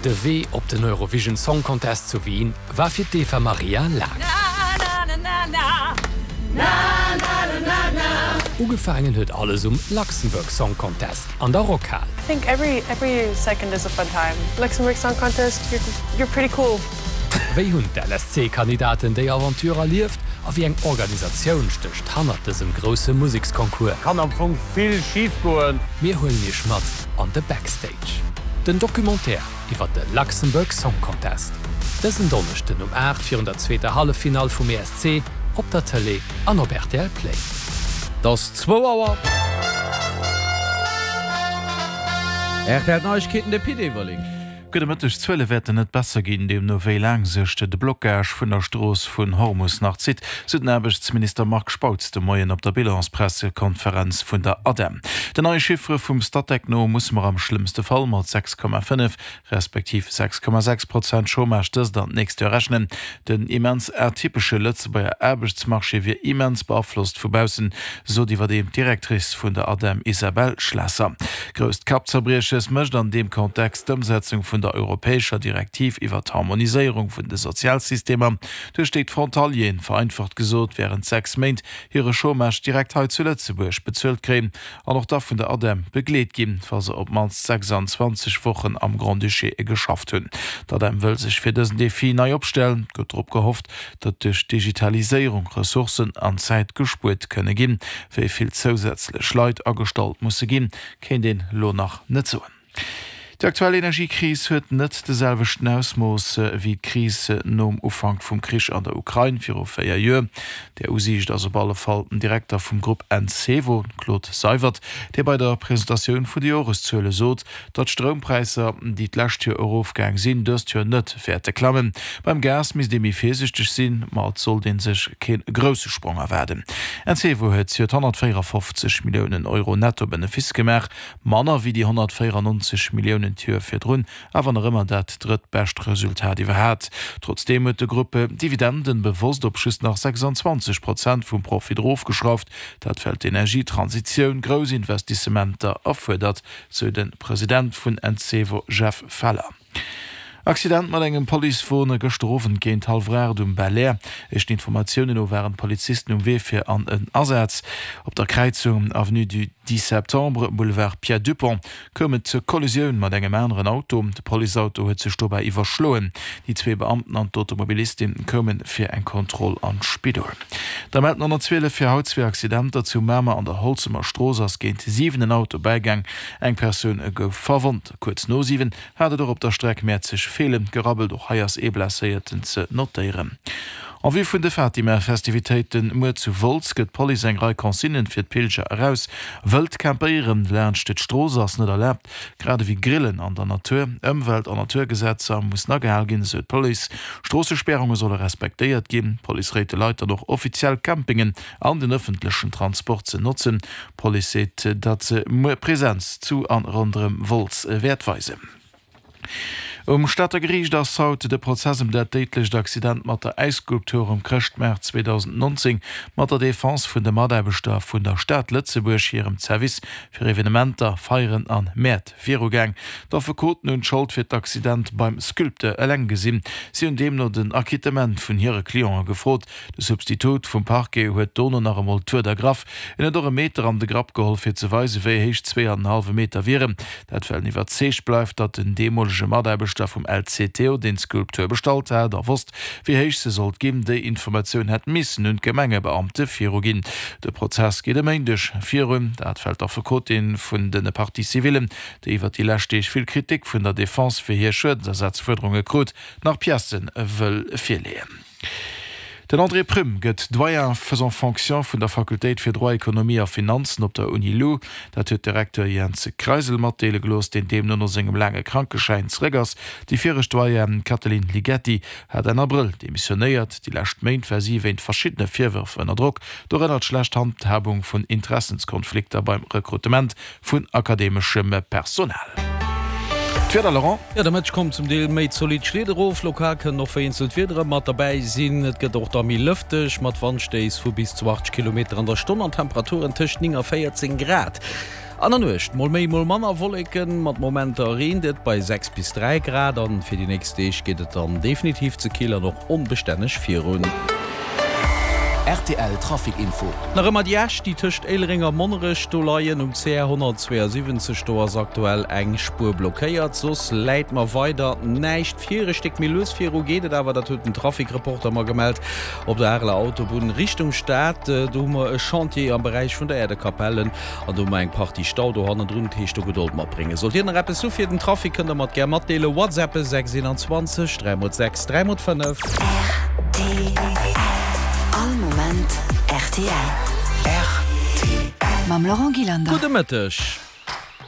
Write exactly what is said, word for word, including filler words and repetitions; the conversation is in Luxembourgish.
De Wee op den Eurovision Song Contest zu Wien war fir d'Eva Marija laang. Ugefaangen huet alles um Luxembourg Song Contest an der Rockhal. I think every every second is a fun time. Luxembourg Song Contest, you're you're pretty cool. Wéi hunn d'LSC-Kandidaten déi Aventure erlieft a wéi eng Organisatioun stécht hannert dësem grousse Museksconcours? Kann am Fong vill schif goen. Mir huelen iech mat an de Backstage. Den Documentaire iwwer de Luxembourg Song Contest. Dësen Donneschden um aacht virun der zweeter Halleffinall vum E S C op der Tëlee an op R T L Play. Et ass zwou Auer. R T L Neiegkeeten, de Pit Everling. Gudde Mëtteg. D'Zuele wäerten net besser ginn, deemno wéi laang sech de Blockage vun der Strooss vun Hormus nach zitt, sou den Aarbechtsminister Marc Spautz de Moien op der Bilanspressekonferenz vun der ADEM. Den neie Chiffere vum Statec no musse mer am schlëmmste Fall mat sechs Komma fënnef respektiv sechs Komma sechs Prozent Chômage dëst an d'nächst Joer rechnen. Den immens atypesche Lëtzebuerger Aarbechtsmarché wier immens beaflosst vu baussen, sot iwwerdeem d'Directrice vun der ADEM Isabelle Schlesser. Grousst Kappzerbrieches mécht an deem Kontext d'Ëmsetzung vun der europäescher Direktiv iwwer d'Harmoniséierung vun de Sozialsystemer, duerch déi d'Frontalieren, vereinfacht gesot, wärend sechs Méint hire Chômage direkt hei zu Lëtzebuerg bezuelt kréien an och da vun der ADEM begleet ginn, wa se op d'mannst sechsanzwanzeg Wochen am Grand-Duché geschafft hunn. D'ADEM wëll sech fir dësen Defi nei opstellen. Et gëtt drop gehofft, datt duerch d'Digitaliséierung Ressourcen an Zäit gespuert kënne ginn. Wéi vill zousätzlech Leit agestallt musse ginn, kéint een elo nach net soen. Déi aktuell Energiekris huet net de selwechten Ausmooss wéi d'Kris nom Ufank vum Krich an der Ukrain viru véier Joer. Där Usiicht ass op alle Fall den Direkter vum Grupp Encevo, Claude Seywert, dee bei der Presentatioun vun de Joreszuele sot, datt d'Stroumpräisser, déi d'lescht Joer erofgaang sinn, dëst Joer net wäerte klammen. Beim Gas misst ee méi virsiichteg sinn, ma et sollt ee sech kee grousse Sprong erwaarden. Encevo huet zejoert honnertvéierafofzeg Milliounen Euro Nettobenefice gemaach, manner wéi déi honnertvéierannonzeg Milliounen d'Joer virdrun, awer nach ëmmer dat drëttbescht Resultat iwwerhaapt. Trotzdeem huet de Grupp d'Dividenden bewosst op just nach sechsanzwanzeg Prozent vum Profit erofgeschrauft, dat well d'Energietransitioun grouss Investissementer erfuerdert, sou de President vun Encevo Jeff Feller. Accident mat engem Policewon gëschter Owend géint hallwer aacht um Belair. Éischten Informatiounen no waren d'Polizisten um Wee fir an en Asaz. Op der Kräizung Avenue du dix septembre, Boulevard Pierre Dupong koum et zur Kollisioun mat engem aneren Auto. De Policeauto huet sech dobäi iwwerschloen. Déi zwee Beamten an d'Automobilistin koume fir eng Kontroll an d'Spidol. Da mellt den honnertzwielef fir haut zwee Accidenter. Zu Mamer an der Holzemer Strooss ass géint siwen en Auto bäigaang. Eng Persoun gouf verwonnt. Kuerz no siwen hat et och op der Streck Mäerzeg-Feelen gerabbelt, och hei ass ee Blesséierten ze notéieren. En vue vun de Fatima-Festivitéiten muer zu Wolz gëtt d'Police eng Rei Consignen fir d'Pilger eraus. Wëllt campéieren laanscht d'Strooss ass net erlaabt, grad ewéi Grillen an der Natur. Ëmwelt an Naturgesetzer mussen agehal ginn, esou d'Police. Stroossespärunge solle respektéiert ginn. D'Police réit de Leit dann och offiziell Campingen an den ëffentlechen Transport ze notzen. D'Police seet, datt se muer Presenz zu an ronderëm Wolz wäert weisen. Um Stater Geriicht ass haut de Prozess ëm dat déidlecht Accident mat der Äisskulptur um Chrëschtmaart zweedausendnonzéng mat der Defense vun de Mataarbechter vun der Stad Lëtzebuerg hirem Zerwiss fir Evenementer, Feieren an Mäert virugaang. D'Affekoten hunn d'Schold fir d'Accident beim Sculpteur eleng gesinn. Si hunn deemno den Acquittement vun hire Cliente gefrot. De Substitut vum Parquet huet dono nach emol d'Wuert ergraff. En huet och e Meter an de Grapp geholl fir ze weisen, wéi héich zwee an en hallwe Meter wieren. Dat well en iwwerzeegt bleift, datt den deemolege Mataarbechter vum L C T O, deen d'Skulptur bestallt hat a wosst, wéi héich se sollt ginn, déi Informatioun hätt missen un d'Gemengebeamte viruginn. De Prozess geet e Méindeg virun. Dat well d'Affekotin vun de Parties civillen, déi iwwer déi lescht Deeg vill Kritik vun der Defense fir hir Schuedensersazfuerderunge krut, nach Piècë wëll virleeën. Den André Prüm gëtt Doyen faisant fonction vun der Fakultéit fir Droit, Ekonomie a Finanzen op der Uni Lu. Dat huet de Recteur Jens Kreisel matdeele gelooss, deen deemno no sengem laange Krankeschäin zeréck ass. Déi viregt Doyenne Katalin Ligeti hat Enn Abrëll demissionéiert. Déi lescht Méint war si wéint verschiddene Virwërf ënner Drock, dorënner d'schlecht Handhabung vun Interessenskonflikter beim Rekrutement vun akademeschem Personal. D'Wieder, Laurent? Jo, de Mëtteg kommen zum Deel méi zolidd Schleed erof, lokal kënnen och vereenzelt Wiedere mat derbäi sinn. Et gëtt och da méi lëfteg, mat Wandstéiss vu bis zu achtzeg Kilometer an der Stonn an Temperaturen tëscht néng a véierzéng Grad. An der Nuecht mol méi, mol manner Wolleken, mat Momenter reent et bei sechs bis dräi Grad. An fir déi nächst Deeg geet et dann definitiv ze kill an och onbestänneg virun. Rtl Trafic Info. Nach ëmmer déi Äscht, déi tëscht Éilereng a Monnerech do leien um C R honnertzweeasiwwenzeg, do ass aktuell eng Spuer blockéiert. Soss läit mer weider näischt vir. E Stéck méi lues viru geet et awer, dat huet den Trafic-Reporter mer gemellt, op der Areler Autobunn Richtung Stad. Do hu mer e Chantier am Beräich vun der Äerdekapellen an do hu mer eng Partie Stau do hannendrun. Dat heescht do Gedold matbréngen. Sollt Dir nach eppes hu fir den Trafic, kënnt Der mer et gär matdeelen. WhatsAppe sechs eenanzwanzeg dräi mol sechs dräi mol fënnef. Rtl, All Moment rtl. Rtl. Mam Laurent Gillander. Gudde Mëtteg.